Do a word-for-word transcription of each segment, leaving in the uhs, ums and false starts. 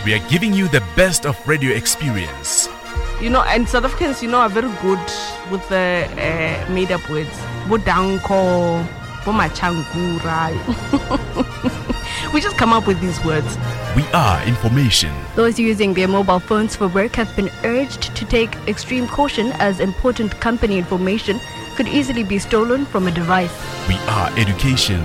We are giving you the best of radio experience. You know, and South Africans, you know, are very good with the uh, made up words. Bodanko, Bomachankura. We just come up with these words. We are information. Those using their mobile phones for work have been urged to take extreme caution as important company information could easily be stolen from a device. We are education.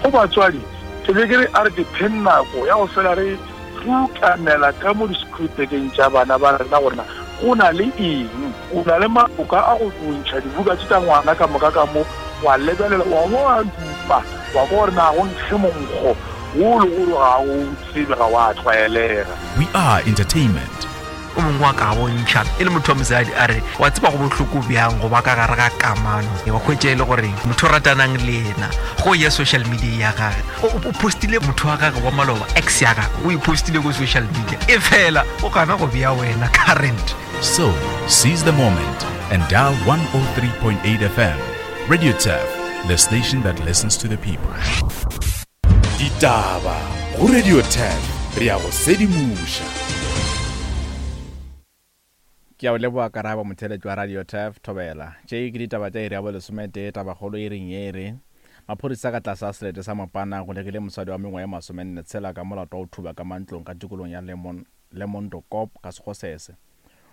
Go batswadi ke be ke re a re dipheng nako ya go fela re rukanela ka mo di-schoolbageng tša bana ba rena gorena go na le eng. O na le maoka a go bontšha dibuka tše tša ngwana ka moka ka mo, wa lebelela, wa bo wa dupa, wa kwa gore na go nkge monkgo wo le gore ga o tsebe, ga wa tlwaelega. We are entertainment. O mongwe wa ka bontšha e le motho wa mosadi a re wa tseba go bohloko bjang go ba ka gare ga kamano, wa hwetša e le gore motho o ratanang le yena go ya social media ya gage o postile motho wa gage wa maloba, ex ya gage, o e postile ko social media, e fela o gana go bea wena current. So, seize the moment and dial one oh three point eight F M. Radio Turf, the station that listens to the people. Ditaba go Radio Turf, re ya go sedimoša. Ke a o leboa karabo, motheletši wa Radio Turf, thobela. Tše ke ditaba tša iri ya bolesometee. Tabakgolo e reng ye re maphodisa ka tlase a selete sa Mopana golegile mosadi wa mengwaga ye masomenne tshela ka molato wa go thuba ka mantlong ka tikolong ya Lemon Lemondokop ka Sekgosese.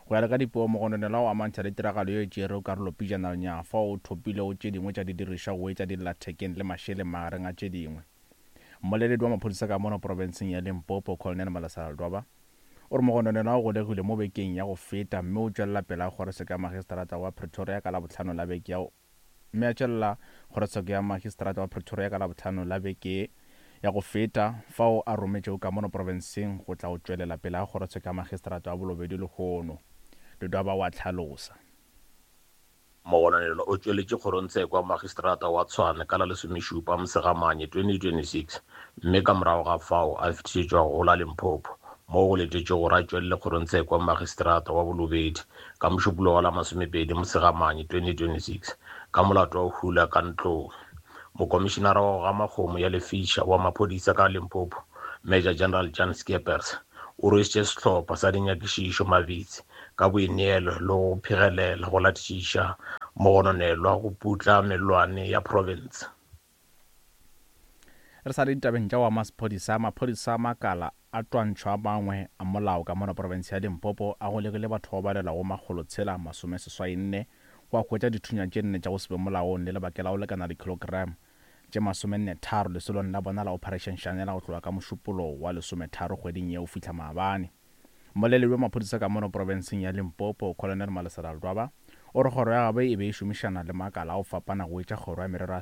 Go ya le ka dipuo, mogononelwa o amantšha le tiragalo ye e tšerego karolo pejana lenyaga fao o thopilego tše dingwe tša didirišwa go etša dillathekeng le mašeleng magareng a tše dingwe. Mmoleledi wa maphodisa ka mono profenseng ya Limpopo, Colonel Malesela Ledwaba, o re mogononelwa o golegilwe mo bekeng ya go feta mme o tšwelela pele a kgorotsheko ya magistrata wa Pretoria ka Labohlano la beke ya mme a tšwelela kgorotsheko ya magistrata wa Pretoria ka Labohlano la beke ya go feta fao a rometšego ka mono profenseng go tla go tšwelela pele a kgorotsheko ya magistrata wa Bolobedu lehono. Ledwaba wa tlhalosa. Mogononelwa o tšweletše kgorongtsheko ya magistrata wa Tshwane ka la lesomešupa Mosegamanye twenty twenty-six mme ka morago ga fao a fetišetšwa go la Limpopo moo go letetšwe gore a tšwelele kgorongtsheko ya magistrata wa Bolobedu ka Mošupologo wa la masomepedi Mosegamanye twenty twenty-six ka molato wa go hula ka ntlong. Mokomišenara wa go gama kgomo ya lefiša wa maphodisa ka Limpopo, Major General Jan Scheepers, o rwešitše sehlopha sa dinyakišišo mabitsi ka boineelo le go phegelela go latišiša mogononelwa go putla mellwane ya profense. Re sa le ditabeng tša wa maphodisa. Maphodisa a makala a twantšho a mangwe a molao ka mono profense ya Limpopo a golegile batho ba balelwago makgolo tshela masome seswai nne go a hwetša dithunya tše nne tša go se be molaong le lebake la go lekana dikilogram tše masomenne tharo lesolong la bona la Operation Shanela go tloga ka Mošupologo wa lesometharo kgweding ye go fihla maabane. Mmoleledi wa maphodisa ka mono profenseng ya Limpopo, Colonel Malesela Ledwaba, o re kgoro ya gabo e be e šomišana le makala a go fapana go etša kgoro ya merero ya